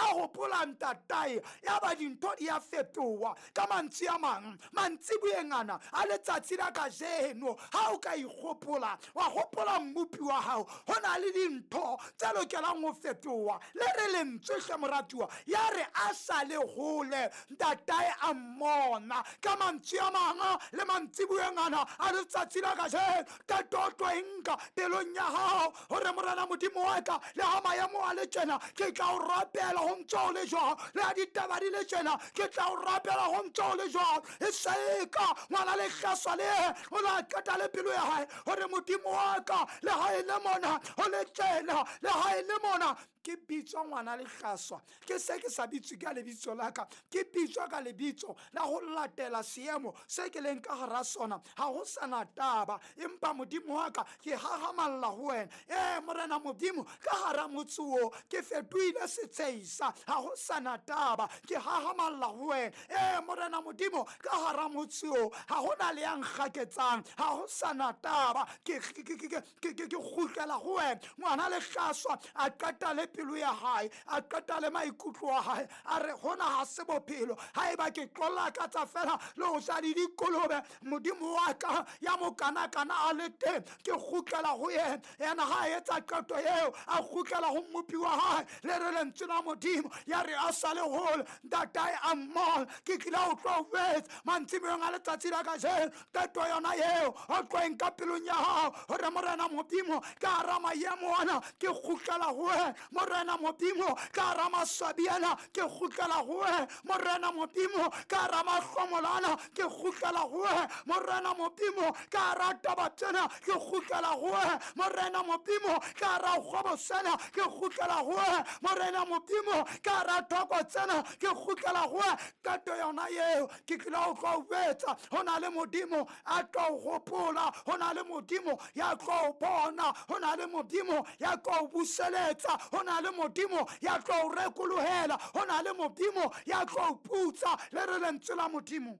A gopola ntatae, ya ba dintho di a fetoha. Ka mantswe a mang, mantsiboeng ana a letsatsi la kajeno, ha o ka ikgopola, wa gopola mmopi wa hao, ho na le dintho tse lokelang ho fetoha. Le re lentswe hle moratuwa, ya re a sa le hole, ntatae a mmona. Ka mantswe a mang, le mantsiboeng ana a letsatsi la kajeno, qeto o tlo e nka pelong ya hao gore Morena Modimo wa ka, le ha maemo a le tjena, ke tla o rapela ho ntse o le jwang. Le ha ditaba di le tjena, ke tla o rapela ho ntse o le jwang. E seka ngwana lehlaswa le o la qeta le pelo ya hae gore Modimo wa ka, le ha e le mona ho le tjena, le ha e le mona ke bitswa ngwana lehlaswa, ke se ke sa bitswe ka lebitso la ka, ke bitswa ka lebitso la ho latela seemo se ke leng ka hara sona. Ha ho sana taba, empa Modimo wa ka, ke hahamalla ho wena. Ee Morena Modimo, ka hara motse o ke fetohile setsheisa, ha ho sana taba, ke hahamalla ho wena. Ee Morena Modimo, ka hara motse o ha hona le ya nkgaketsang, ha ho sana taba, ke kgutlela ho wena. Ngwana lehlaswa a qeta le pelo ya hae, a qeta le maikutlo a hae, a re hona ha se bophelo. Ha eba ke tlo lakatsa fela le ho ja le dikolobe, Modimo wa ka ya mokanakana a le teng, ke kgutlela ho yena. Yena ha a etsa qeto eo, a kgutlela ho mmopi wa hae. Le re lentswe la Modimo, ya re a sa le hole, ntatae a mmona. Ke tlile ho tlo jwetsa mantsiboeng a letsatsi la kajeno, qeto yona eo o tlo e nka pelong ya hao gore Morena Modimo, ka hara maemo ana ke kgutlela ho wena. Morena Modimo, ka hara maswabi ana ke kgutlela ho wena. Morena Modimo, ka hara mahlomola ana ke kgutlela ho wena. Morena Modimo, ka hara taba tsena ke kgutlela ho wena. Morena Modimo, ka hara kgwebo sena ke kgutlela ho wena. Morena Modimo, ka hara thoko tsena ke kgutlela ho wena. Qeto yona eo ke tlile ho tlo jwetsa, ho na le Modimo a tlo gopola, ho na le Modimo ya tlo bona, ho na le Modimo ya tlo buseletsa, ho na le Modimo ya tlo rekolohela, ho na le Modimo ya tlo putsa. Le re lentswe la Modimo,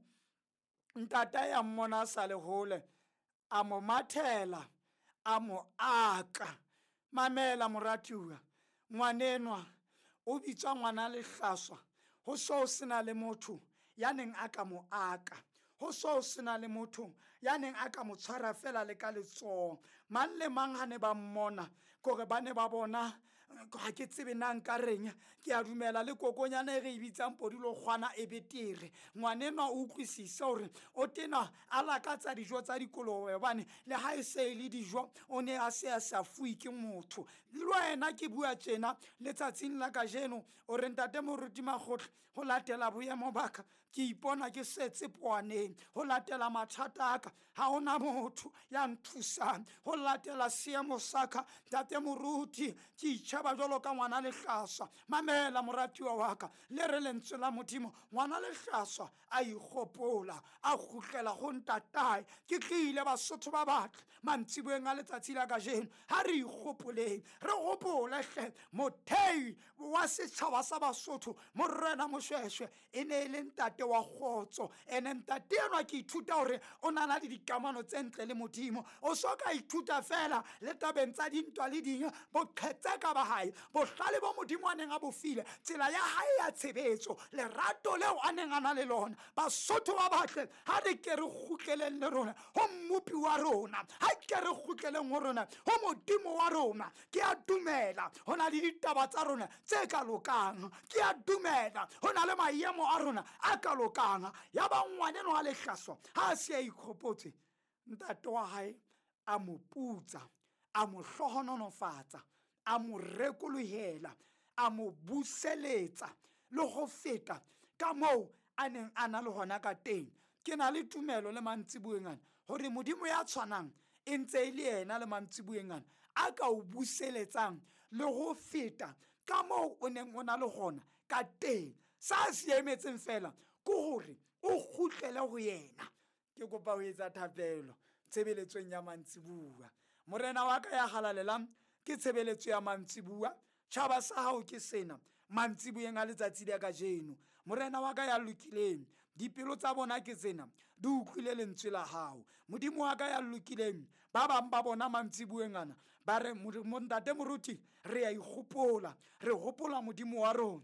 ntata ya mmona a sa le hole, a mo mathela, a mo aka. Mamela moratuwa, ngwanenwa o bitswa ngwana lehlaswa, ho so sena le motho ya neng a ka mo aka, ho so sena le motho ya neng a ka mo tshwara fela le ka letsoho. Mang le mang ha ne ba mmona, kore ba ne ba bona, ha ke tsebe na nka reng, ke a dumela le kokonyana e re e bitsang podulokgwana e betere. Ngwanenwa o utlwisise hore o tena a lakatsa dijo tsa dikolobe, hobane le ha e se e le dijo o ne a se a sa fuwe ke motho. Le wena ke bua tjena letsatsing la kajeno, o re ntate moruti Makgotla, ho latela boemo ba ka ke ipona ke setse poaneng, ho latela mathata a ka ha hona motho ya nthusang, ho latela seemo sa ka ntate moruti ke itjheba jwalo ka ngwana lehlaswa. Mamela moratuwa wa ka, le re lentswe la Modimo, ngwana lehlaswa a ikgopola, a kgutlela ho ntatae. Ke tlile Basotho ba batle mantsiboeng a letsatsi la kajeno, ha re ikgopoleng, re gopole hle mothei wa setšhaba sa Basotho, Morena Moshweshwe, e ne e le ntate wa kgotso. Ene ntate enwa ke ithuta hore o na le dikamano tse ntle le Modimo. O so ka ithuta fela le tabeng tsa dintwa le ding, boqhetseka ba hae, bohlale bo Modimo a neng a bo file, tsela ya hae ya tshebetso, lerato leo a neng a na le lona. Basotho ba batle, ha re ke re kgutleleng le rona ho mmopi wa rona, ha ke re kgutleleng ho rona ho Modimo wa rona. Ke a dumela ho na le ditaba tsa rona tse ka lokang, ke a dumela ho na le maemo a rona a ka lokang. Ya ba ngwaneno a lehlaswa ha a se a ikgopotse, ntate wa hae a mo putsa, a mo hlohonolofatsa, a mo rekolohela, a mo buseletsa le ho feta ka moo a neng a na le hona ka teng. Ke na le tumelo le mantsiboeng ana hore Modimo ya tshwanang e ntse e le yena le mantsiboeng ana a ka o buseletsang le ho feta ka moo o neng o na le hona ka teng. Sa se emetseng fela ke hore o kgutlele ho yena. Ke kopa ho etsa thapelo tshebeletsong ya mantsibuwa. Morena wa ka ya halalelang, ke tshebeletso ya mantsibuwa. Tjhaba sa hao ke sena mantsiboeng a letsatsi la kajeno. Morena wa ka ya lokileng, dipelo tsa bona ke tsena, di utlwile lentswe la hao. Modimo wa ka ya lokileng, ba bang ba bona mantsiboeng ana ba re, ntate moruti, re a ikgopola, re hopola Modimo wa rona.